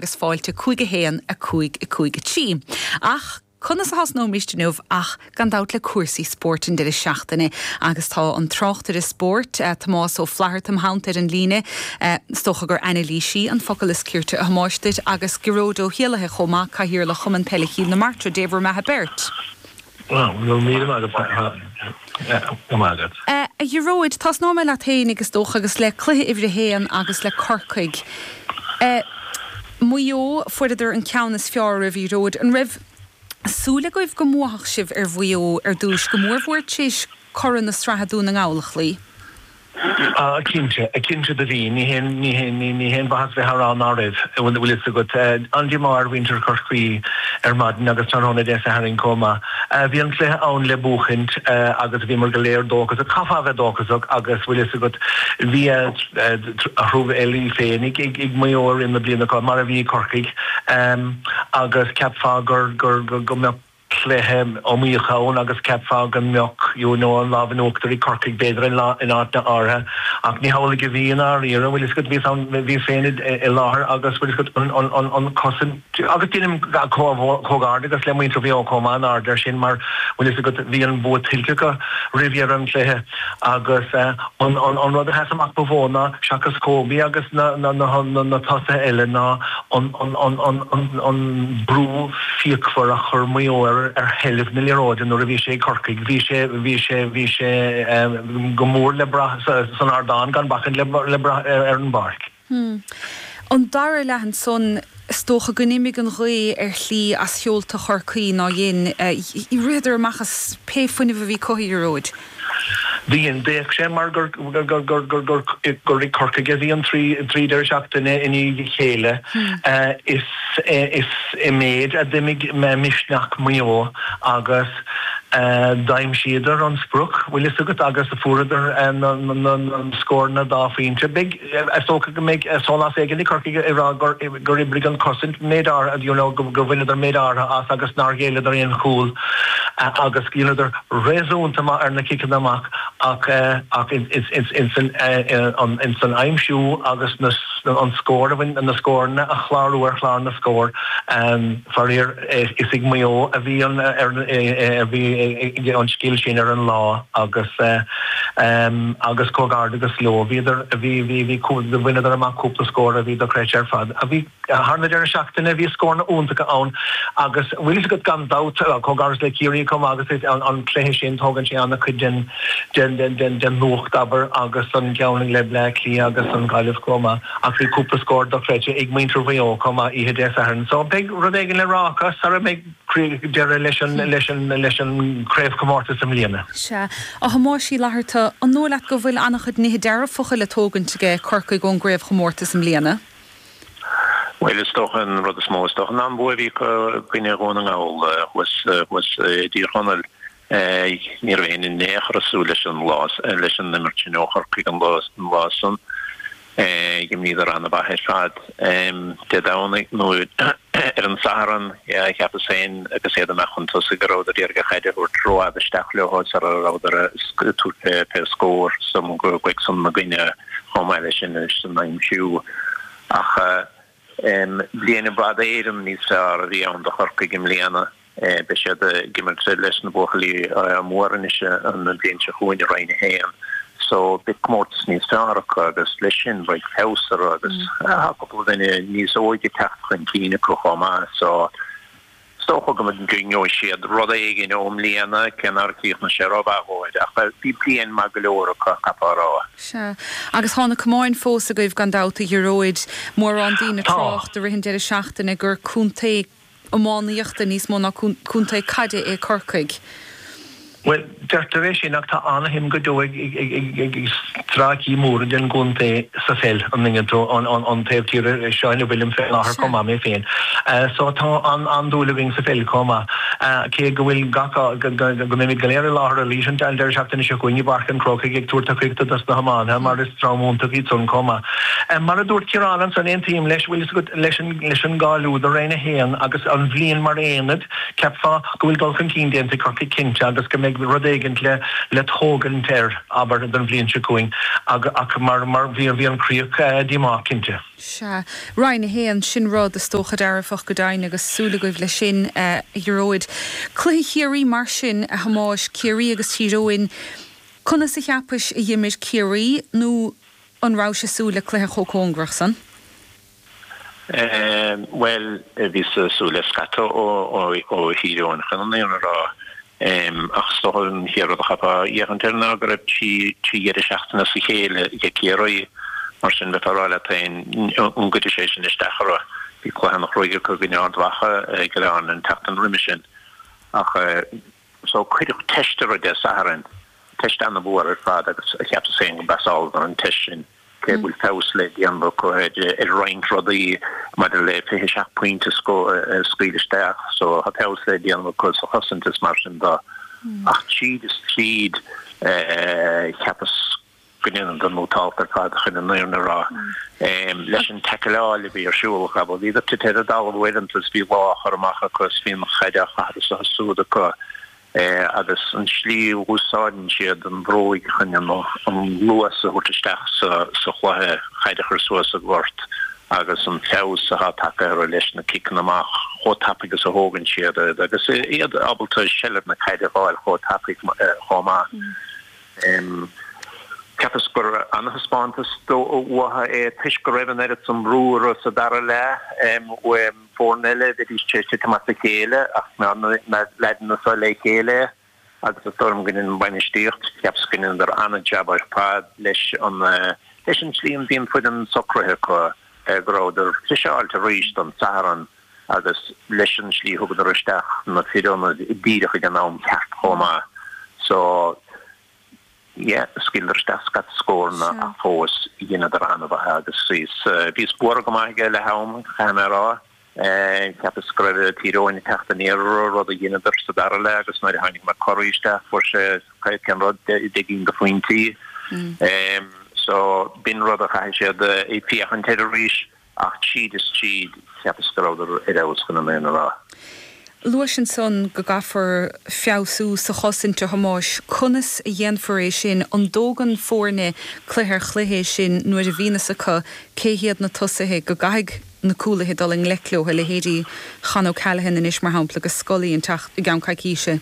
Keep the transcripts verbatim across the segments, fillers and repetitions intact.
agus fáilte cúig a haon a cúig a cúig a trí. Ach conas a thosnóimis inniu ach gan dabht le cúrsaí spóirt an deireadh seachtaine agus tá an tráchtaire spóirt eh, Tomás Ó Flatharta im theannta ar an líne eh, is dócha gur anailísí an focal is cirte a Thomáis duit agus Gearóid Ó hÉallaithe chomh maith cathaoirleach Chumann Peile Chill na Martra Dé bhur mbeatha beirt. Míle agat. Eh, a Ghearóid tosnóidh mé leat féin agus dócha agus le cluiche uimhir a haon agus le Corcaigh. Eh, Maigh Eo fuaireadar an ceann is fearr oraibh a Ghearóid an raibh súil agaibh go mbuafadh sibh ar Mhaigh Eo ar dtús go mór mhór tar éis curaidh na sraithe Dún na nGall a chloí. Ah cinnte a cinnte do bhí ní haon ní haon ní haon mhaitheas bheith á rá nach raibh bhfuil fhios agat an-díomá ar mhuintir Chorcaí ar maidin agus tráthnóna Dé Sathairn chomh maith. Bhí an cluiche ann le buachaint agus bhíomar go léir dóchasach chaithfeá bheith dóchasach agus bhfuil fhios agat bhí a thrufeilí féin ag ag Maigh Eo i rith na bliana mar a bhí Corcaigh agus cheapfá gur gur go mbeadh cluiche iomaíoch ann agus cheapfá go mbeadh you know an lámh in uachtar ag Corcaigh b'fhéidir in lá in áit na áirithe ach ní hamhlaidh a bhí in áiríre bhfuil fhios agat bhí ann bhí féin i láthair agus bhfuil fhios agat an an an an cosaint agus déanaim comhghairdeas le muintir Mhaigh Eo chomh maith an aird air sin mar bhfuil fhios agat bhí an bua tuillte acu roimh dheireadh an chluiche agus an an an rud a sheas amach ba mhó ná seachas Kobe agus na na na na na tosaithe eile ná an an an an an an brú fíochmhar a chur Maigh Eo ar ar sheilbh na liathróide nuair a bhí sé ag Corcaigh bhí sé bhí sé bhí sé go mór le brath san ardán gan bacaint le le brath ar ar an bpáirc. Hmm. An dara leath ansan is dócha go n-imigh an ghaoth ar shlí as seolta Chorcaí nár dhein ritheadar amach as pé fuinneamh a bhí acu a Ghearóid. Dhein d'fhéach sé mar gur gur gur gur gur gur gur ag Corcaigh a bhí an trí trí deireadh seachtaine i ndiaidh a chéile is is i méid a d'imigh misneach Mhaigh Eo agus d'aimsíodar an sprioc bhfuil fhios agat agus fuaireadar na na na scóranna dá phointe. Beidh is dócha go mbeidh sólás éigin ag Corcaigh ag rá gur gur oibrigh an chosaint méid áirithe you know go go bhaineadar méid áirithe as agus nár ghéilleadar aon chúl agus dheineadar réasúnta maith ar na ciceanna amach ach ach ins an ins an aimsiú agus na an scór a bhain na scóranna a chlárú ar chlár na scór faraor is ag Maigh Eo a bhí an ar a bhí an scil sin ar an lá agus agus comhghairdeas leo bhíodar bhí bhí bhí bhaineadar amach cúpla scór a bhí dochreidte ar fad a bhí thar na deireadh seachtaine bhí scóranna iontacha ann agus bhfuil fhios agat gan dabht comhghairdeas le Ciarraí chomh maith agus an cluiche sin tógann sé an-chuid den den den den den nuacht abair agus an ceann le Bleá Cliath agus an Ghaillimh chomh maith ach bhí cúpla scór dochreidte ag muintir Mhaigh Eo chomh maith oíche Dé Sathairn so beidh rud éigin le rá acu sara mbeidh deireadh leis an leis an leis an craobhchomórtas i mbliana. Sea. A Thomáis Uí Fhlatharta, an dóigh leat go bhfuil an-chuid nithe dearfacha le tógaint aige Corcaigh ón gcraobhchomórtas i mbliana? Bhuel is dócha an rud is mó is dócha ná an bua a bhí acu i gcoinne Dhún na nGall thuas thuas i dTír Chonaill. Ní raibh éinne in aon chor ag súil leis an lá leis an imirt sin ó Chorcaigh an lá an lá san. D'imríodar an-mhaith ar fad Dé Domhnaigh nó ar an Satharn cheapas féin agus iad amach chun tosaigh go rabhadar ag iarraidh an chaid a thabhairt rófhada isteach leo sara rabhadar ag tabhairt pé scór san go san na gcoinne chomh maith leis sin san aimsiú. Ach bliain i bhfad Éireann níos fearr a bhí ann do Chorcaigh i mbliana. Beidh siad ag imirt leis na buachaillí móra anois an bhliain seo chugainn i Roinn a haon. So beidh comórtas níos fearr acu agus leis sin beidh feabhas orthu agus tá cúpla duine níos óige ag teacht chun cinn acu chomh maith. So is dócha go ngeobhaidh siad rud éigin ó mbliana cé nár chríochnaigh sé rómhaith dhóibh ach bhí bliain maith go leor acu, caithfeá a rá. Sea. Agus tá na camáin fós agaibh gan dabht a Ghearóid. Mórán daoine ag Tá. trácht i rith an deireadh seachtaine gur contae iománaíochta níos mó ná contae caide é Corcaigh. Bhuel, deirtear é sin ach tá an-shuim go deo ag ag stráicí móra den gcontae sa pheil, an dtuigeann tú, an taobh tíre seo ina bhfuilim fé láthair chomh maith mé féin. So tá an-dúil againn sa pheil chomh maith. Cé go bhfuil gach go mbeimid go léir i láthair arís an deireadh seachtaine seo chugainn i bPáirc an Chrócaigh ag tabhairt tacaíochta dos na hiománaithe mar is dream iontach iad san chomh maith. Mar a dúirt Ciarán ansan, aontaím leis, bhfuil fhios agat, leis an leis an gcáiliú do Roinn a haon agus an bhliain mar aonad, cheapfá go bhfuil dul chun cinn déanta ag Corcaigh cinnte agus go mbeidh rud éigint le le tógaint air, abair, don bhliain seo chugainn ach mar mar bhí bhí an chríoch díomách cinnte. Sea. Roinn a haon, sin rud is dócha dearfach go deimhin agus súil agaibh leis sin, a Ghearóid. Cluiche Chiarraí mar sin, a Thomáis, Ciarraí agus Tír Eoghain, conas a cheapais a d'imir Ciarraí nó an rabhais ag súil le cluiche chomh cóngarach san? Bhuel, bhíos ag súil le scata ó Thír Eoghain chun an fhírinne a rá. Ach is dócha an chéad rud a chaithfeá féachaint air ná go raibh trí dheireadh seachtaine as a chéile ag Ciarraí, mar sin bheifeá ag rá leat féin an gcuirfidh sé sin isteach orthu. Bhí cluiche an-chruaidh acu i gcoinne Ard Mhacha i gCill Airne an tseachtain roimhe sin. Ach so cuireadh teist orthu Dé Sathairn, teist an-mhór ar fad agus cheapas féin go bpasáladar an teist sin. Cé go bhfuil feabhas le déanamh acu ar roinnt rudaí maidir le fiche seacht pointe a scaoileadh isteach so tá feabhas le déanamh acu sa chosaint is mar sin de. Ach tríd is tríd cheapas go ndeineadar nótálta ar fad chun an fhírinne a rá. Leis an taicleáil a bhí ar siúl acu, bhíodar tite ar an dtalamh uaireanta is bhí lámh á chur amach acu is bhí an chaid á chaitheamh anso is siúd acu. agus an tslí a úsáideann siad an bhróig chun an luas a thabhairt isteach sa chluiche, caid a chur suas sa ghort agus an feabhas atá tagtha orthu leis na ciceanna amach, chomh tapaidh is a thógann siad iad agus iad ábalta seilbh na caide a fháil chomh tapaidh chomh maith. Cheapas gur an-thaispeántas uathu é toisc go raibh an oiread san brú orthu sa dara leath. Foirne eile, bheidís tar éis titim as a chéile ach na leaideanna seo le chéile agus is dóigh liom go ndein an bhainistíocht, cheapas go ndeineadar an-jab ar fad leis an leis an tslí a bhí an foireann socraithe acu, go rabhadar friseáilte arís don Satharn agus leis an slí a thugadar isteach na fir ionaid díreach ag an am ceart chomh maith. So. Yeah, scaoileadar isteach scata scóranna ach fós dheineadar an-mhaith agus bhíos, bhíos buartha go maith ag leath am, caithfidh mé a rá. Cheapas go raibh Tír Eoghain ag teacht aniar orthu, rud a dheineadar sa dara leath agus nuair a tháinig McCurry isteach fuair sé cén rud, deich gcinn de phointí. So b'in rud a chaithfidh siad féachaint air arís. Ach tríd is tríd, cheapas go rabhadar ar fheabhas chun an fhírinne a rá. Luais ansan go gcaithfear feabhsú sa chosaint, a Thomáis. Conas a dhéanfar é sin? An dtógann foirne cluiche ar chluiche é sin nuair a bhíonn fhios acu cé hiad na tosaithe go gcaithfidh na cúlaithe dul i ngleic leo, a leithéidí Con O'Callaghan anois mar shampla agus Scully an teacht i gceann coicíse?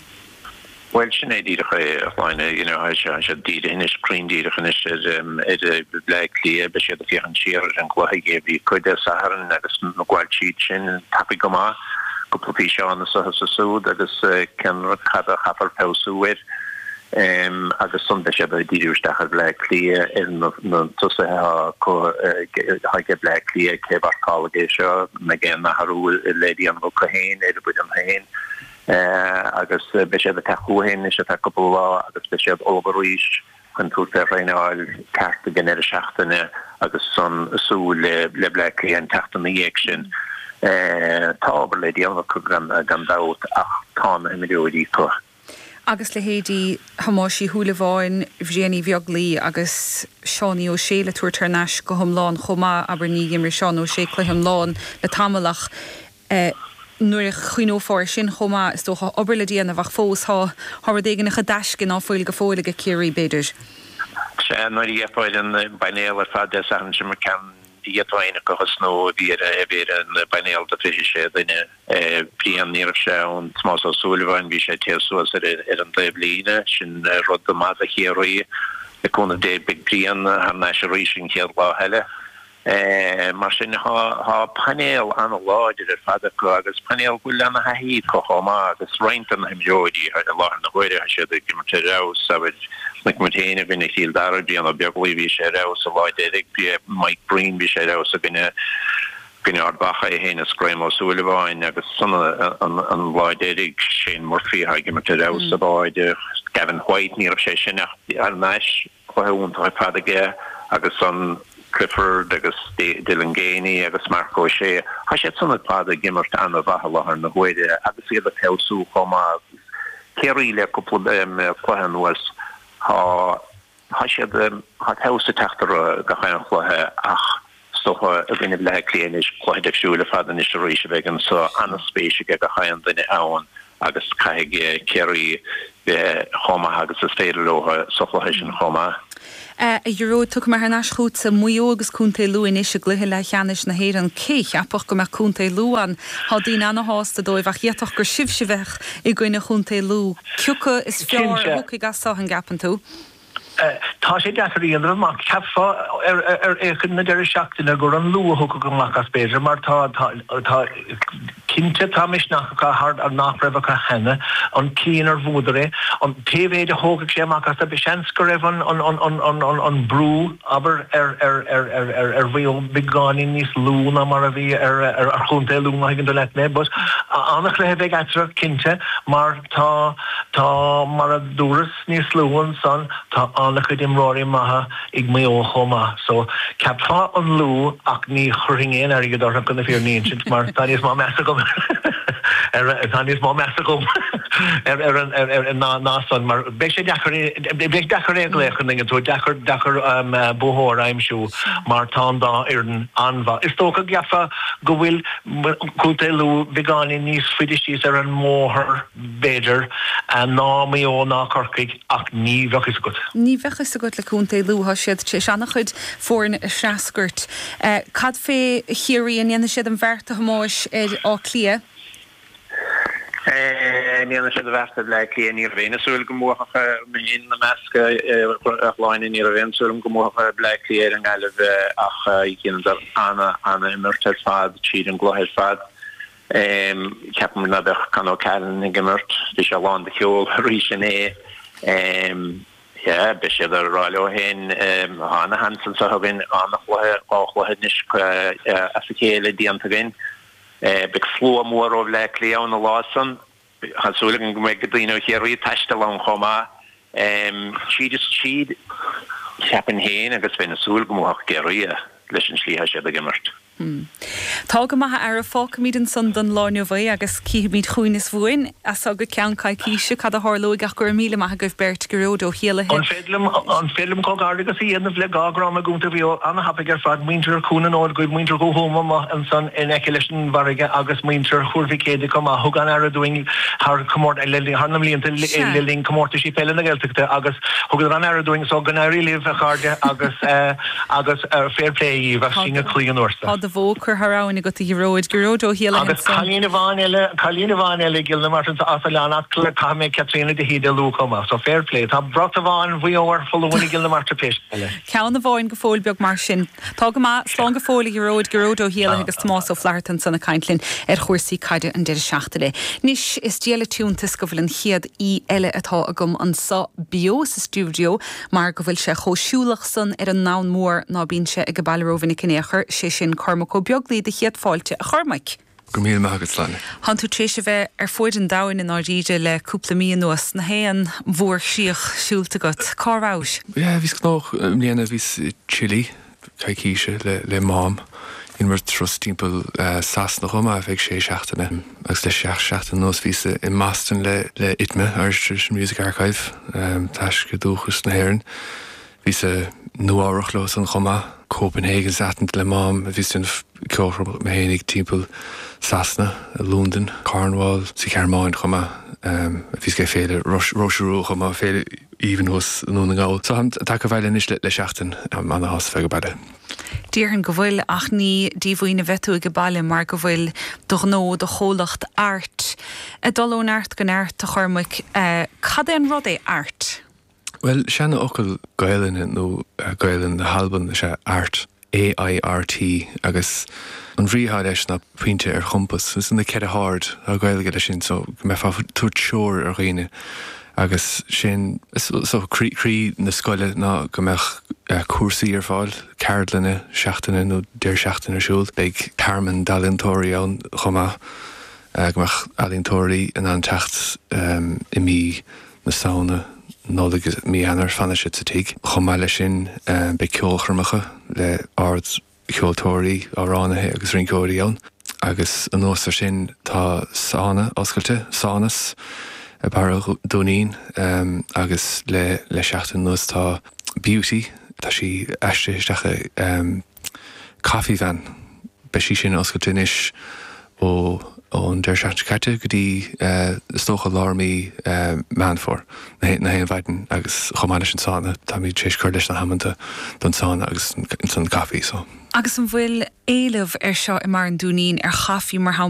Bhuel, sin é díreach é, a Shláine. You know, tá siad dírithe anois, cruinn díreach anois ar ar Bhleá Cliath. Beidh siad ag féachaint siar ar an gcluiche a bhí acu Dé Sathairn agus ag gabháil tríd sin tapaidh go maith. Cúpla físeán anso is ansúd agus cén rud, cad a chaithfear feabhsú air. Agus ansan beidh siad ag díriú isteach ar Bhleá Cliath, ar na tosaithe atá acu, atá ag Bleá Cliath, cé a mharcálfaidh é seo, an mbeidh aon athrú le déanamh acu féin ar a bhfoireann féin. Agus beidh siad ag teacht chucu féin anois ar feadh cúpla lá agus beidh siad ullamh arís chun tabhairt fé thraenáil ceart ag an ndeireadh seachtaine agus ansan súil le Bleá Cliath an tseachtain ina dhiaidh sin. Tá obair le déanamh acu gan dabht ach tá na himreoirí acu. Agus leithéidí Thomáis Uí Shúilleabháin, Bhriain Uí Bheaglaoi agus Seánie Ó Sé le tabhairt thar n-ais go hiomlán chomh maith, abair ní d'imir Seán Ó Sé cluiche iomlán le tamall ach nuair a chuimhneofá air sin chomh maith, is dócha, obair le déanamh ach fós tá tá rud éigin i dtaisce ná fuil go fóill ag Ciarraí, b'fhéidir. Sea, nuair a d'fhéachfá ar an bpainéal ar fad Dé Sathairn sin mar ceann d'fhéadfá éinne acu a thosnú a bhí ar a bhí ar an bpainéal de fiche sé duine. Brian, ní raibh sé ann, Tomás Ó Súilleabháin, bhí sé ag téamh suas ar ar an dtaobhlíne, sin rud maith do Chiarraí. Le cúnamh Dé beidh Brian thar n-ais arís an chéad lá eile. Mar sin, tá painéal an-láidir ar fad acu agus painéal go bhfuil ana-thaithí acu chomh maith agus roinnt de na himreoirí i láthair na huaire, tá siad ag imirt ar fheabhas. Abair, chonaic muid féin i gcoinne Chill Dara, Brian Ó Beaglaoi, bhí sé ar fheabhas an lá deiridh, Mike Breen, bhí sé ar fheabhas i gcoinne gcoinne Ard Mhacha, é féin is Graham Ó Súilleabháin agus ansan an lá deiridh, Shane Murphy atá ag imirt ar fheabhas sa bháide, Gavin White, ní raibh sé sin ach thar n-ais, cluiche iontach ar fad aige agus an. Clifford agus Dylan Geaney agus Marc O'Shea, tá siad san ar fad ag imirt an-mhaith i láthair na huaire agus iad ag feabhsú chomh maith. Ciarraí le cúpla cluiche anuas, tá tá siad tá feabhas ag teacht orthu gach aon chluiche ach is dócha i gcoinne Bhaile Átha Cliath anois, cluiche difriúil ar fad anois arís a bheidh anso, an-spéis ag gach aon duine ann agus caithfidh Ciarraí bheith chomh maith agus is féidir leo sa chluiche sin chomh maith. A Ghearóid, tiocfaidh mé thar n-ais chugatsa, Maigh Eo agus Contae Lú anois i gcluiche leathcheannais na hÉireann. Cé a cheapfadh go mbeadh Contae Lú ann? Tá daoine ana-shásta dóibh ach d'fhéadfadh gur sibhse a bheadh i gcoinne Chontae Lú. Cioca is fearr a thiocfaidh as seo, an gceapann tú? Tá sé deacair a dhéanamh amach. Cheapfá ar féachaint na deireadh seachtaine gur an Lú a thiocfadh amach as b'fhéidir mar tá tá cinnte tá misneach acu thar nach raibh acu cheana, an tslí inar bhuadar é. An pé mhéid a thógfaidh sé amach as seans go raibh an an an an an an an brú abair ar ar ar ar ar ar Mhaigh Eo beagáinín níos lú ná mar a bhí ar ar ar Chontae Lú má thuigeann tú leat mé. But an-chluiche a bheidh eatarthu cinnte mar tá tá mar a dúras níos luaithe ansan tá an-chuid imreoirí maithe ag Maigh Eo chomh maith so cheapfá an Lú ach ní chuirfinn aon airgead orthu chun na fírinne a insint mar tá níos mó meas agam ar tá níos mó meas agam ar ar an ar ar ná ná san mar beidh sé deacair beidh deacair é a ghlaoch an tú deacair deacair um, buaiteoir a aimsiú mar tá an dá fhoireann an-mhaith. Is dócha go gceapfá go bhfuil Contae Lú beagáinín níos faide síos ar an mbóthar b'fhéidir ná Maigh Eo ná Corcaigh ach ní bheadh fhios agat. Ní bheadh fhios agat le Contae Lú tá siad tar éis an-chuid foirne a threascairt. Cad fé Chiarraí an ndéanfaidh siad an bheart a Thomáis ar Áth Cliath? An ndéanfaidh siad an bheart ar Bhaile Átha Cliath ní raibh aon súil go mbuafadh mé ina measc a Shláine ní raibh aon súil go mbuafadh Baile Átha Cliath ar an nGaillimh ach dheineadar an-an-imirt ar fad tríd an gcluiche ar fad. Ceapaim ná beadh Con O'Callaghan ag imirt, bhí sé lán de cheol arís inné. Yeah, beidh siad ag rá leo féin tá ana-sheans anseo againn an-chluiche dhá chluiche anois as a chéile déanta againn. Beidh slua mór ó Bhaile Átha Cliath ann an lá san. Tá súil agam go mbeidh daoine ó Chiarraí ag taisteal ann chomh maith. Tríd is tríd cheapfainn féin agus bheinn ag súil go mbuafadh Ciarraí leis an slí atá siad ag imirt. Tá go maith a fheara, fágfaimid ansan don lá inniu é agus cífimid chugainn is uainn as seo go ceann coicíse cad a tharlóidh ach go raibh míle maith agaibh beirt, Gearóid Ó hÉallaithe. An féidir liom an féidir liom comhghairdeachas a dhéanamh le dhá dhream i gContae Mhaigh Eo an-thapaidh ar fad, muintir Chuan an Fhóid Dhuibh, muintir Dhúthuama amuigh ansan in aice leis an bhfarraige agus muintir Thuar Mhic Éadaigh chomh maith. Thug an-aire dúinn thar comórt thar na mblianta le linn comórtaisí peile na Gaeltachta agus thugadar an-aire dúinn so go n-éirí libh a chairde agus agus fair play dhaoibh as síneadh croí an uair Tá do bhó curtha thar abhainn agat a Ghearóid, Gearóid Ó hÉallaithe Agus cailín amháin eile, cailín amháin eile i gCill na Martra as Oileán Acla, caithfidh mé Caitríona de hÍde a lua chomh maith. So fair play. Tá brat amháin Mhaigh Eo ar foluain i gCill na Martra pé scéal é. Ceann amháin go fóill beag mar sin. Tá go maith, slán go fóill a Ghearóid, Gearóid Ó hÉallaithe agus Tomás Ó Flatharta ansan ag caint linn ar chúrsaí caide an deireadh seachtaine. Anois is diail an t-iontas go bhfuil an chéad aoi eile atá agam anso beo sa stiúideo mar go bhfuil sé chomh siúlach san ar an ndomhan mór ná bíonn sé ag baile rómhinic in aon chor, sé sin Cormac Ó Beaglaoi do chéad fáilte a Chormaic. Go raibh míle maith agat Sláine. Tánn tú tar éis a bheith ar fuaid an domhain i ndáiríre le cúpla mí anuas, na haon mhórchríoch siúlta agat. Cá rabhais? Yeah, bhíos gnóthach i mbliana, bhíos i Chile coicíse le le Mám. Dheineamar turas timpeall Sasana chomh maith ar feadh sé seachtaine agus le seacht seachtaine anuas bhíos i mBoston le le ITMA, Irish Traditional Music Archive, Taisce Dúchas na hÉireann. Bhíos i Nua-Eabhrac leo san chomh maith, Copenhagen is Athens le Mám, bhíos ag déanamh ceolchoirm mé fhéinig timpeall Sasana, i Londain, Cornwall, sa Ghearmáin chomh maith. Bhíos ag féile Róise Rua chomh maith, féile aoibhinn thuas i nDún na nGall. So táim tagtha abhaile anois le seachtain, táim ana-shásta bheith ag baile. Déarfainn go bhfuil, ach ní díomhaoin a bheith tú ag baile mar go bhfuil do ghnó, do chomhlacht Airt ag dul ó neart go neart, a Chormaic. Cad é an rud é Airt? Bhuel, seanfhocal Gaelainne nó Gaelainn na hAlban is ea airt, A-I-R-T, agus an bhrí atá leis ná pointe ar chompas. Is na ceithre haird atá Gaeilge leis sin, so go mbeifeá ag tabhairt treoir ar dhaoine agus sin so croí croí na scoile ná go mbeadh cúrsaí ar fáil, ceardlanna seachtaine nó deireadh seachtaine ar siúl. Beidh tearmann d'ealaíontóirí ann chomh maith, go mbeadh ealaíontóirí in ann teacht i mí na Samhna Nollaig is mí Eanáir, fanfaidh siad sa tigh. Chomh maith leis sin, beidh ceolchoirmeacha le ardcheoltóirí, amhránaithe agus rinceoirí ann. Agus anuas ar sin, tá sauna oscailte, Saunas, i Barra Dúinín agus le le seachtain anuas tá Beauty, tá sí aistrithe isteach i Coffee Van. Beidh sí sin oscailte anois ó ón deireadh seachtaine seo caite go dtí is dócha lár mí Meán Fómhair, na haon mhaidin agus chomh maith leis an sauna, táimid tar éis cur leis na hamanta don sauna agus an caife so. Agus an bhfuil éileamh ar seo i mBarra an Dúinín ar chaife mar shampla?